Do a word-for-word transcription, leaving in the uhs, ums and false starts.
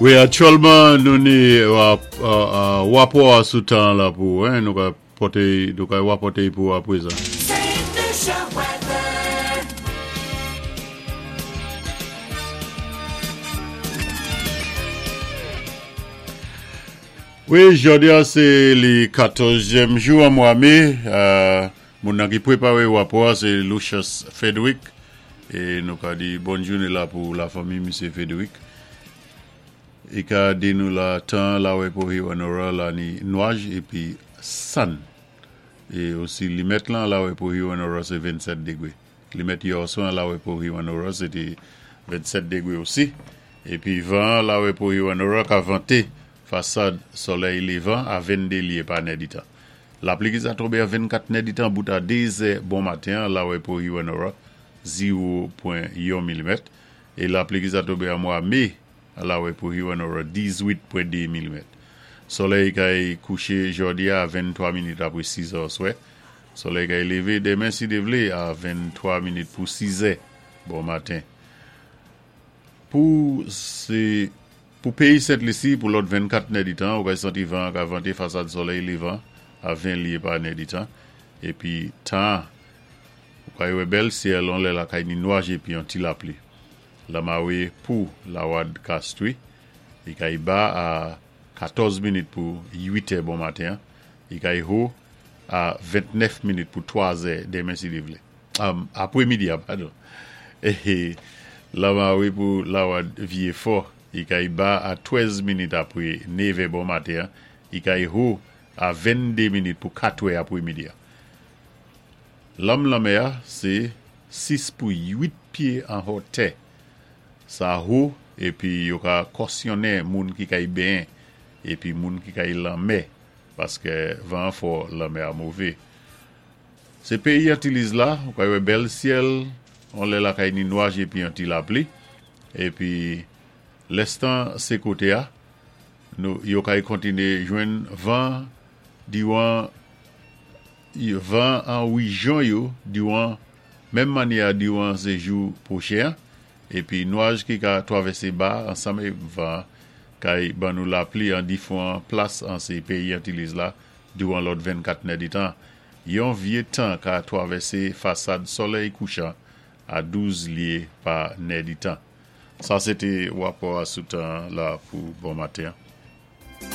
Wi, aktyèlman nou ni wapò sou tan la pou, hein, nou ka pòté, nou ka wapòté pou apwézan. Saint Lucia weather. Wi, jòdi-a sé li katòzyèm jou an mwa mé, euh, moun nan ki pwépawé wapò sé Lucius Frederick, é nou ka di bòn jouné la pou la fanmi Misyé Frederick. I ka di nou la tan la wè pou Hewanorra la ni nwaj épi sann. É osi limèt lan la wè pou Hewanorra sé vennsèt dégwé. Limèt yèswa la wè pou Hewanorra sé té vennsèt dégwé osi. Épi van la wè pou Hewanorra ka vanté fasad solèy lévan a venndé lyé pa nèditan. Lapli ki sa tonbé a vennkat nèditan bout a dézè bon maten la wè pou Hewanorra zewo pwen yon milimèt. É lapli ki sa tonbé an mwa mé la wè pou Hewanorra dizwit pwen dé milimèt. Solèy kay kouché jòdi-a a venntwa minit apwé sizè oswè. Solèy kay lévé démen si Dye vlé a venntwa minit pou sizè bon maten. Pou sé pou péyi Sent Lisi pou lòt vennkat nèditan, ou kay santi van ka vanté fasad solèy lévan a ven lyé pa nèditan. Épi tan, ou kay wè bèl syèl, on lè la kay ni nwaj épi yon ti lapli. Lamawé pou Lawad Castries, i kay ba a katòz minit pou uitè bon maten, i kay wo a ventnèf minit pou twazè démen si Dye vlé. Um, apwé midi, padon. É lamawé pou Lawad Vyé Fò, i kay ba a twèz minit apwé nevè bon maten, i kay wo a venndé minit pou katwè apwé midi. Lanm lanmè-a, sé sis pou uit pyé an wotè. Sa wo, épi yo ka kòsyonnen moun ki kay benyen, épi moun ki kay lanmè, paské van fò lanmè-a mové. Sé péyi Antiliz la, ou kay wè bèl syèl, on lè la kay ni nwaj épi yon ti lapli, épi lèstan sé koté-a, nou yo kay kontiné jwenn van diwan van an wéjyon yo diwan menm mannyè diwan sé jou pwochen, épi nwaj ki ka twavèsé ba ansanm van kay ban nou lapli an difwan plas an sé péyi Antiliz la diwan lòt vennkat nèditan. Yon vyé tan ka twavèsé fasad solèy kouchan a douz lyé pa nèditan. Sa sé té wapò sou tan la pou bon maten.